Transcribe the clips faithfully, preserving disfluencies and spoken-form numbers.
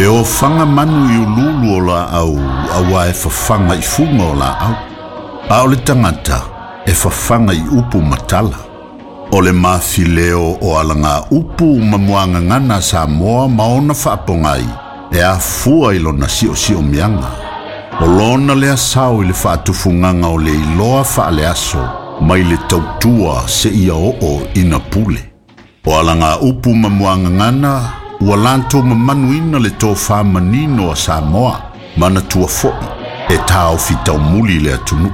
E ofaga manu i ululu o laau auā e fafaga i fuga o laau. A o le tagata e fafaga i upu ma tala. O le mafileo o alaga upu ma muagagana a Samoa ma ona faapogai e afua i lona siosiomiaga. O lona lea sao i le faatufugaga o le iloa faaleaso mai le tautua seia oo ina pule. O alaga upu ma muagagana ua latou mamanuina le tofā manino a Samoa manatua fo'i e taofi taumuli le atunuu.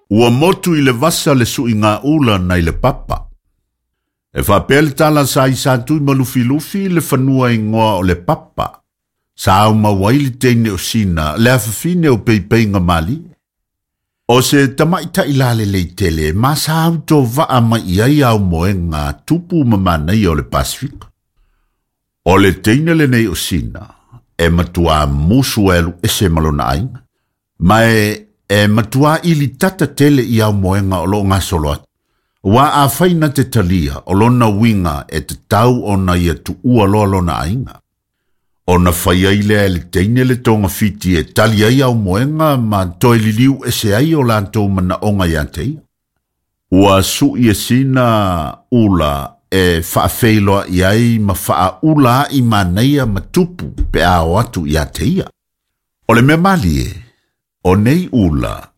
Ua motu i le vasa le suiga ula nai le papa. E faapea le tala sa i sa tui ma lufilufi le fanua igoa o le papa. Sa aumau ai le teine o Sina le afafine o peipeiga malie. O se tamaʻitaʻi lalelei tele ma sa autovaa mai i ai aumoega tupu ma manaia o le Pasifika. O le teine lenei o Sina e matuā musu e alu ese ma lona aiga. Ma e, e matuā ili tata tele i aumoega o loo gasolo atu. Ua afai na te talia o lona uiga e tatau ona ia tuua loa lona aiga. Ona fai ai lea e le teine le togafiti e tali ai aumoega ma toe liliu ese ai o latou manaoga ia te ia. Ua suʻi e Sina ula e faafeiloaʻi ai ma faaula aʻi manaia ma tupu pe a o atu ia te ia. O le mea malie, o nei ula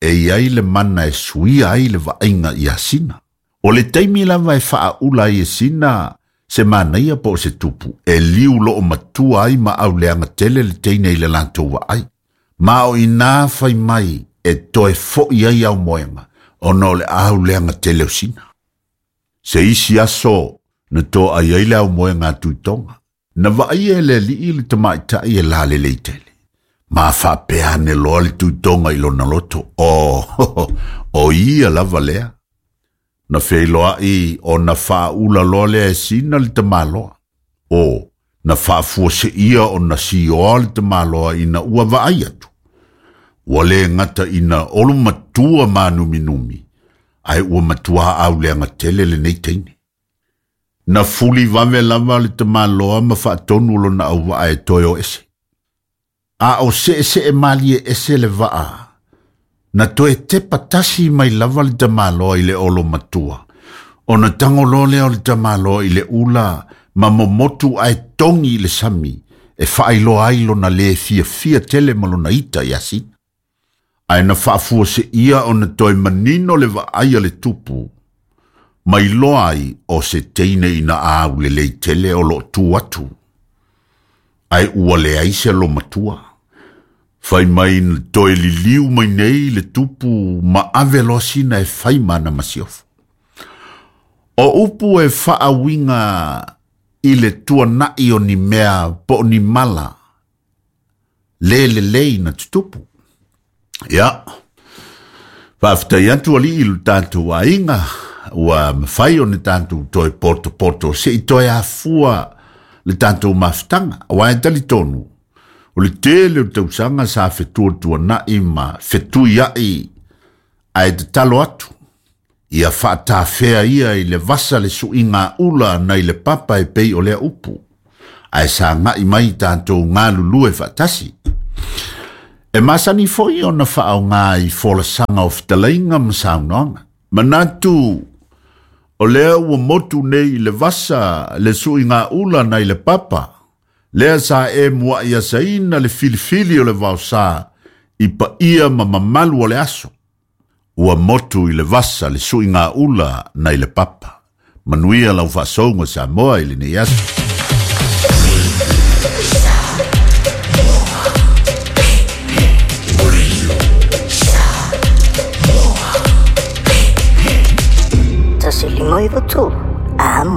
e iai le mana e suia ai le vaaiga ia Sina. O le taimi lava e faaula ai e Sina se manaia po o se tupu, e liu loo matua ai ma auleaga tele le teine i le latou vaai. Ma o inā fai mai e toe foʻi ai aumoega, ona o le auleaga tele o Sina. Se isi aso na toa ai ai le aumoega a Tuitoga. Na vaaia e le alii le tamaʻitaʻi e lalelei tele. Ma faapea ane loa le Tuitoga i lona loto. O, o ia lava lea. Na feiloaʻi ona faaula loa lea e Sina le tamaloa. O, na faafuaseia ona sioa le tamaloa ina ua vaai atu. Ua le gata ina olo matua manuminumi, ae ua matuā auleaga tele lenei teine. Na fuli vave lava le tamaloa ma faatonu lona auvaa e toe o ese. A o seesee malie ese le vaa, na toe tepa tasi mai lava le tamaloa i le olo matua. Ona tago lea o le tamaloa i le ula ma momotu ae togi i le sami e faailoa ai lona le fiafia tele ma lona ita ia Sina. Ae na faafuaseia ona toe manino le vaai a le tupu, ma iloa ai o se teine ina aulelei tele o loo tu atu. Ae ua leai se olomatua. Fai mai na toe liliu mai nei le tupu ma ave loa Sina e fai ma ana masiofo. O upu e faauiga i le tuanaʻi o ni mea po o ni mala le lelei na tutupu. Ia, faafetai atu alii i lo tatou aiga ua mafai ona tatou toe potopoto seʻi toe afua le tatou mafutaga. Auā e talitonu, o le tele o tausaga sa fetuatuanaʻi ma fetuiaʻi ae tatalo atu. Ia faatafea ia i le vasa le suiga ula nai le papa e pei o lea upu. Ae sagaʻi mai tatou galulue faatasi. E masani foi ona faaaogā i folasaga o fetalaiga ma saunoaga. Manatu o lea ua motu nei i le vasa le suiga ula nai le papa. Lea sa e muaʻi asaina le filifili o le vaosā i paia ma mamalu o le aso. Ua motu i le vasa le suiga ula nai le papa. Manuia lau faasouga Samoa i lenei aso. Tasi lima iva tolu.